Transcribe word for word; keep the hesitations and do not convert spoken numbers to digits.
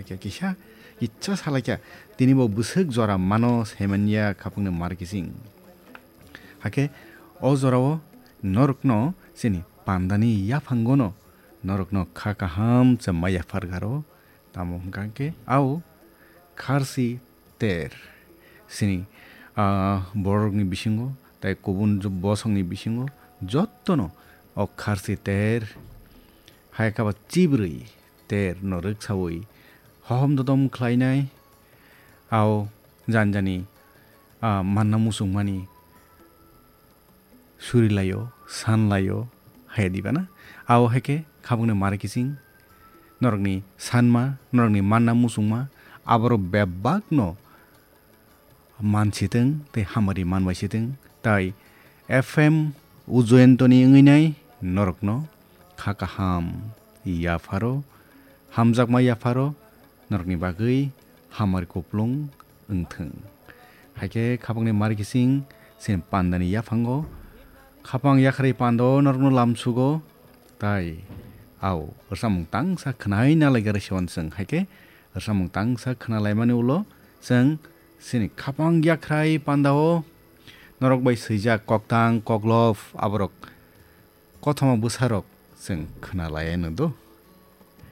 Khe kisa, kisa salaikha, tini bo bwswk jora mano saimanya khapangni mar kising. Hakhe o jorao norokno chini pandani yaphangono norokno kha kaham se ma yaphar garo, tamo hwnkha khe au kharsi ter. Sini, ah, borokni bisingo, tai kubun jo-, bosongni bisingo, jottono o kharsi ter, hai khe ba chibrwi ter no rwksawi hohom dodom khlainai, au janjani, ah, manna muchungmani suri laio, san laio, haya diba na? Abo hai khe khabangni mar kising, norokni sanma, norokni manna muchungma, aborok bebakno mansitwng tei hamari manbaisitwng, tai F M Ujoyantoni wngwi nai norokno kha kaham yapharo, hamjakma yapharo, norokni bagwi hamari kuplung wngthwng. Hai khe khapangni mar kising chini pandani yaphango, khapang yakhrai pando norokno lamsugo, tai au rwchapmung tangsa khwnai nalai gari siwan chwng. Hai khe rwchapmung tangsa khwnalaimani ulo chwng chini khapang yakhrai pandao norok bai swijak koktang koklop aborok kothoma bwsarok chwng khwnalai anw do.